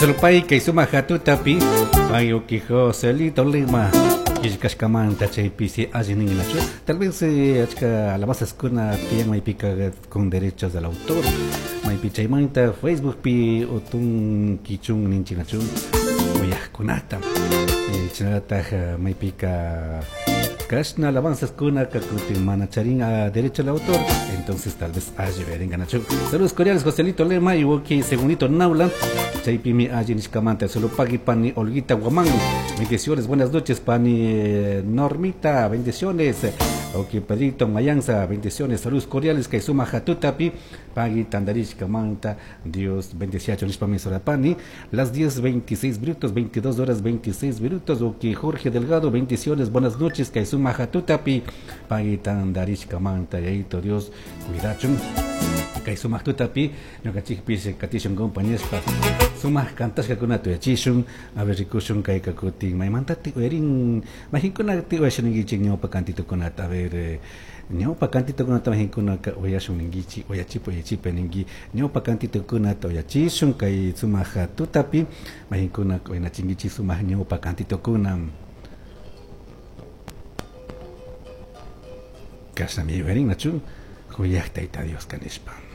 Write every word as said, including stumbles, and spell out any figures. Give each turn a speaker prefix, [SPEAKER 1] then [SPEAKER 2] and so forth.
[SPEAKER 1] Pai kay sumaq hatutapi pay uki Joselito Lima qillqashkamanta chaypi si allin ninnachu tal vez eh, achka alabanzaskuna tiyan maypika con derechos del autor maypi chaymanta Facebookpi utun kichun ninchinachu uyaqkunata eh, chaynataj maypika kashna alabanzaskuna kakutin mana charin a derecho al autor entonces tal vez alli veringanachu. Saludos cordiales Joselito Lema y Woki Segundito Naula chaypimi alli nishkamanta solo pagui pani Olguita Guamán, bendiciones, buenas noches pani eh, Normita, bendiciones. Ok, Pedrito Mayanza, bendiciones, saludos cordiales kay suma hatutapi pagui tandarishkamanta, Dios bendeciacho nishpami pani. Las diez veintiséis minutos, veintidós horas veintiséis minutos. Ok, Jorge Delgado, bendiciones, buenas noches kay suma hatutapi pagui tandarishkamanta, yayito Dios cuidachun kay sumaq tutapi ñuqanchikpis katishun compañespa sumaq kantashkakunata uyachishun a ver rikushun kay kakutin maymantati uyarin majinkuna uyashun ninkichik ñawpa kantitukunata a ver eh, ñawpa kantitukunata majinkuna uyashun ninkichik uyachipa uyachipa ninki ñawpa kantitukunata uyachishun kay sumaq tutapi majinkuna uyanachinkichik sumaq ñawpa kantitukuna kashnami uyarin nachu kuyaq tayta Dios kanishpa.